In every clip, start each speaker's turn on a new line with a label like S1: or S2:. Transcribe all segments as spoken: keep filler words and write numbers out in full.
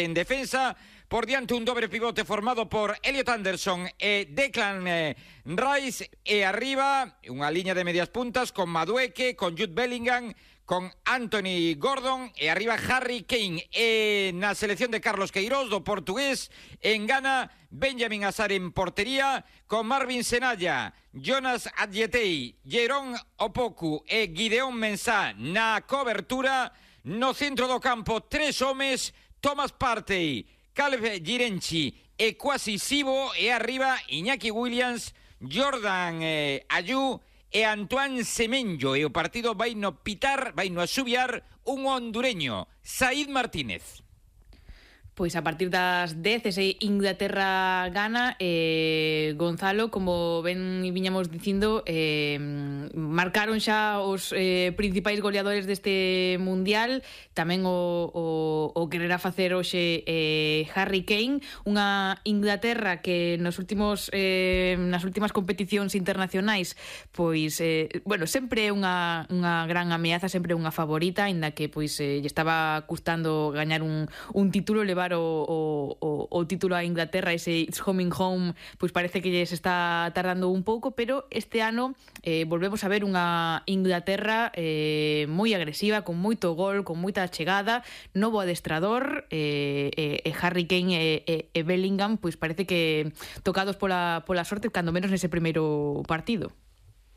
S1: en defensa, por diante un dobre pivote formado por Elliot Anderson e Declan eh, Rice, e arriba unha liña de medias puntas con Madueke, con Jude Bellingham, con Anthony Gordon, e arriba Harry Kane. E na selección de Carlos Queiroz, do portugués, en Ghana, Benjamin Azar en portería, con Marvin Senalla, Jonas Adjetei, Jerón Opoku e Gideon Mensah na cobertura. No centro do campo, tres homes, Thomas Partey, Caleb Girenchi e Kwasi Sibo, e arriba Iñaki Williams, Jordan eh, Ayew e Antoine Semenyo. E o partido vai no pitar, vai no asubiar un hondureño, Said Martínez.
S2: Pois a partir das dez, ese Inglaterra gana, eh, Gonzalo, como ben viñamos dicindo, eh, marcaron xa os eh, principais goleadores deste Mundial, tamén o, o, o quererá facer hoxe eh, Harry Kane, unha Inglaterra que nos últimos eh, nas últimas competicións internacionais, pois, eh, bueno, sempre é unha, unha gran ameaza, sempre unha favorita, aínda que pois eh, lle estaba custando gañar un, un título, levar O, o, o, o título a Inglaterra, ese It's Coming Home, pois parece que se está tardando un pouco, pero este ano eh, volvemos a ver unha Inglaterra eh, moi agresiva, con moito gol, con moita chegada, novo adestrador, eh, eh, Harry Kane e, e, e Bellingham, pois parece que tocados pola, pola sorte, cando menos nese primeiro partido.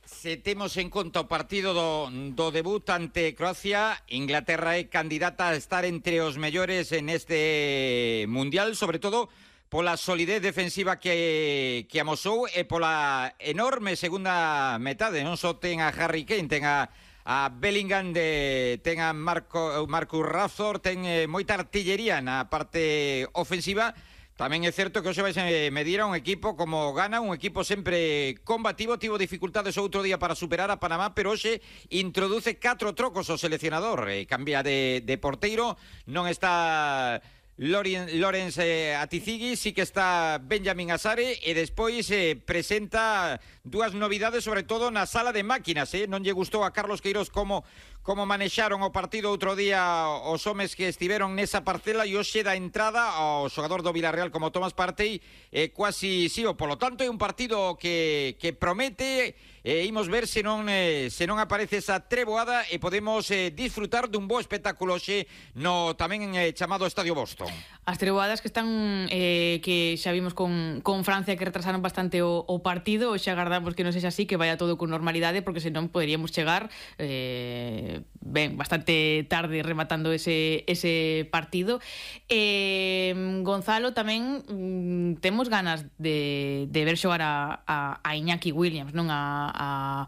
S1: Se temos en conta o partido do, do debut ante Croacia, Inglaterra é candidata a estar entre os mellores en este Mundial, sobre todo pola solidez defensiva que, que amosou e pola enorme segunda metade. Non só ten a Harry Kane, ten a, a Bellingham, de, ten a Marco, Marcus Rashford, ten eh, moita artillería na parte ofensiva. Tamén é certo que hoxe vai medir a un equipo como Ghana, un equipo sempre combativo, tivo dificultades outro día para superar a Panamá, pero hoxe introduce catro trocos o seleccionador, e cambia de, de porteiro, non está Lorenz eh, Atizigi, sí que está Benjamin Asare, e despois eh, presenta dúas novidades, sobre todo na sala de máquinas. Eh? Non lle gustou a Carlos Queiroz como como manexaron o partido outro día os homes que estiveron nesa parcela, e hoxe da entrada ao xogador do Villarreal como Thomas Partey e eh, Kwasi Sibo. Polo tanto, é un partido que, que promete, e eh, imos ver se non, eh, se non aparece esa treboada e podemos eh, disfrutar dun bo espectáculo hoxe no tamén eh, chamado Estadio Boston.
S2: As treboadas que están eh, que xa vimos con, con Francia, que retrasaron bastante o, o partido, e xa agardamos que non sexa así, que vaya todo con normalidade, porque senón poderíamos chegar eh, ben, bastante tarde rematando ese, ese partido. eh, Gonzalo, tamén mm, temos ganas de, de ver xogar a, a, a Iñaki Williams, non a, a,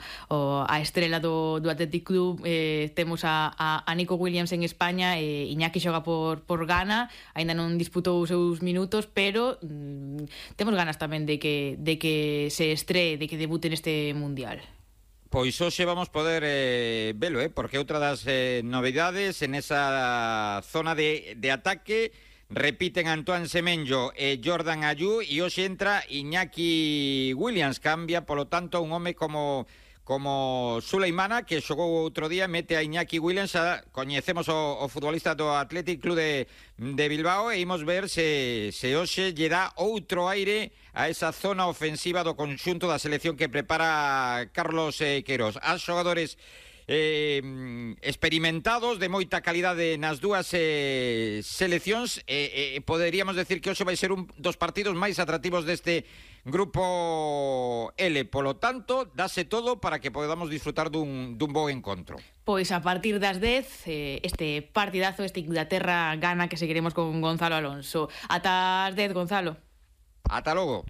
S2: a estrela do, do Athletic Club. eh, temos a, a, a Nico Williams en España, e Iñaki xoga por, por Ghana, aínda non disputou os seus minutos, pero mm, temos ganas tamén de que, de que se estree, de que debute neste Mundial.
S1: Pois hoxe vamos poder eh, velo, eh, porque outra das eh, novidades en esa zona de, de ataque, repiten Antoine Semenyo e Jordan Ayew, e hoxe entra Iñaki Williams. Cambia, polo tanto, un home como como Suleimana, que xogou outro día, mete a Iñaki Williams. A, coñecemos o, o futbolista do Athletic Club de, de Bilbao, e imos ver se, se hoxe lle dá outro aire a esa zona ofensiva do conxunto da selección que prepara Carlos eh, Queiroz. As xogadores eh, experimentados, de moita calidade nas dúas eh, seleccións, e eh, eh, poderíamos decir que hoxe vai ser un dos partidos máis atractivos deste Grupo L. Polo tanto, dase todo para que podamos disfrutar dun, dun bo encontro.
S2: Pois a partir das dez, eh, este partidazo, este Inglaterra gana, que seguiremos con Gonzalo Alonso. Ata as dez, Gonzalo.
S1: Ata logo.